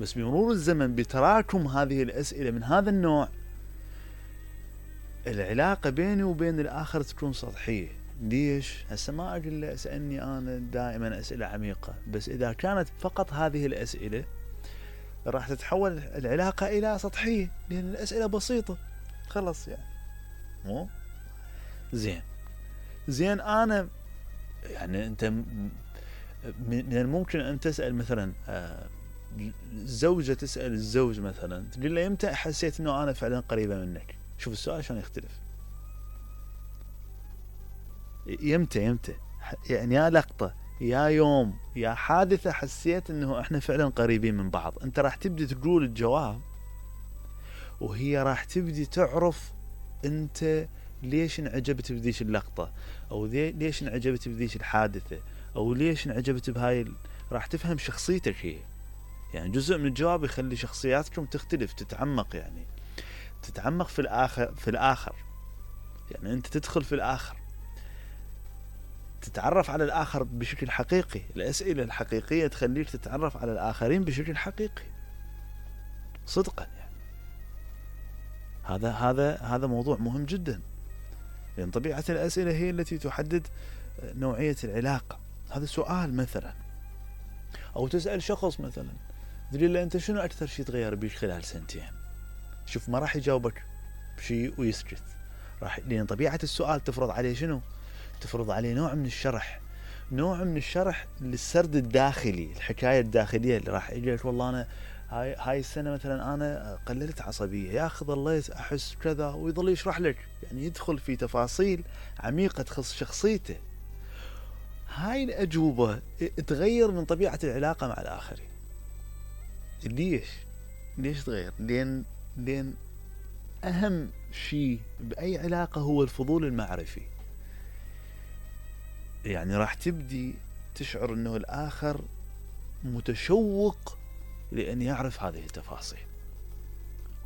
بس بمرور الزمن بتراكم هذه الأسئلة من هذا النوع العلاقة بيني وبين الآخر تكون سطحية. ليش؟ هسه ما أقول له اسألني أنا دائما أسئلة عميقة، بس إذا كانت فقط هذه الأسئلة راح تتحول العلاقة إلى سطحية، لأن الأسئلة بسيطة خلص يعني. مو زين أنا يعني أنت من الممكن أن تسأل مثلا زوجة تسأل الزوج مثلا تقول له يمتى حسيت أنه أنا فعلا قريبة منك؟ شوف السؤال شلون يختلف. يمتى يعني يا لقطة يا يوم يا حادثة حسيت أنه إحنا فعلا قريبين من بعض. أنت راح تبدي تقول الجواب وهي راح تبدي تعرف أنت ليش انعجبت بذيش اللقطة، أو ليش انعجبت بذيش الحادثة، أو ليش انعجبت بهاي راح تفهم شخصيتك هي. يعني جزء من الجواب يخلي شخصياتكم تختلف، تتعمق، يعني تتعمق في الآخر. يعني أنت تدخل في الآخر، تتعرف على الآخر بشكل حقيقي. الأسئلة الحقيقية تخليك تتعرف على الآخرين بشكل حقيقي صدقا. يعني هذا موضوع مهم جدا، لأن طبيعة الأسئلة هي التي تحدد نوعية العلاقة. هذا سؤال مثلا، أو تسأل شخص مثلا تقول له أنت شنو أكثر شيء تغير بيك خلال سنتين؟ شوف ما راح يجاوبك بشيء ويسكت، لأن طبيعة السؤال تفرض عليه شنو؟ تفرض عليه نوع من الشرح للسرد الداخلي، الحكاية الداخلية اللي راح يجيك والله أنا هاي السنة مثلا أنا قللت عصبية، ياخذ ظليت أحس كذا، ويظل يشرح لك، يعني يدخل في تفاصيل عميقة تخص شخصيته. هاي الأجوبة تغير من طبيعة العلاقة مع الآخرين. ليش تغير؟ لأن أهم شيء بأي علاقة هو الفضول المعرفي. يعني راح تبدي تشعر أنه الآخر متشوق لأن يعرف هذه التفاصيل،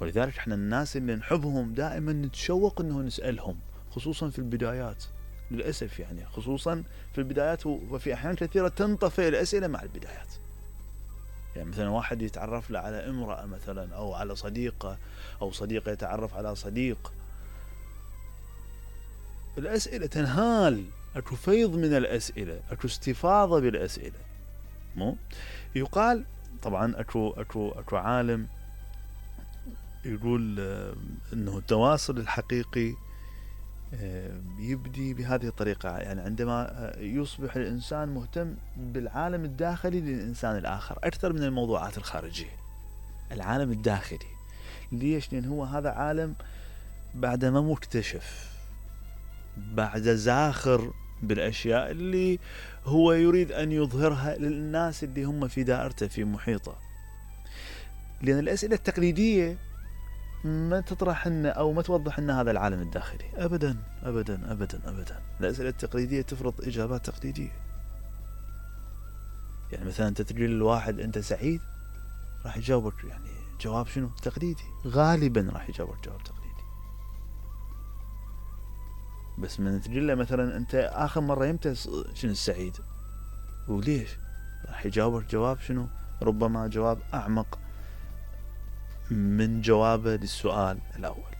ولذلك احنا الناس اللي نحبهم دائما نتشوق أنه نسألهم، خصوصا في البدايات للأسف، يعني خصوصا في البدايات، وفي أحيان كثيرة تنطفئ الأسئلة مع البدايات. يعني مثلا واحد يتعرف له على امرأة مثلا، أو على صديقة، أو صديقة يتعرف على صديق، الأسئلة تنهال، أكو فيض من الأسئلة، أكو استفاضة بالأسئلة. مو يقال طبعا أكو عالم يقول أنه التواصل الحقيقي يبدي بهذه الطريقة. يعني عندما يصبح الإنسان مهتم بالعالم الداخلي للإنسان الآخر أكثر من الموضوعات الخارجية. العالم الداخلي ليش؟ لأن هو هذا عالم بعد ما مكتشف، بعد زاخر بالأشياء اللي هو يريد أن يظهرها للناس اللي هم في دائرته، في محيطه. لأن الأسئلة التقليدية ما تطرح لنا أو ما توضح لنا هذا العالم الداخلي أبدا أبدا أبدا أبدا. الأسئلة التقليدية تفرض إجابات تقليدية. يعني مثلا أنت تقول للواحد أنت سعيد، راح يجاوبك يعني جواب شنو؟ تقليدي، غالبا راح يجاوبك جواب تقليدي. بس من تقول له مثلا أنت آخر مرة يمتى شنو السعيد وليش، راح يجاوبك جواب شنو؟ ربما جواب أعمق من جوابه للسؤال الأول.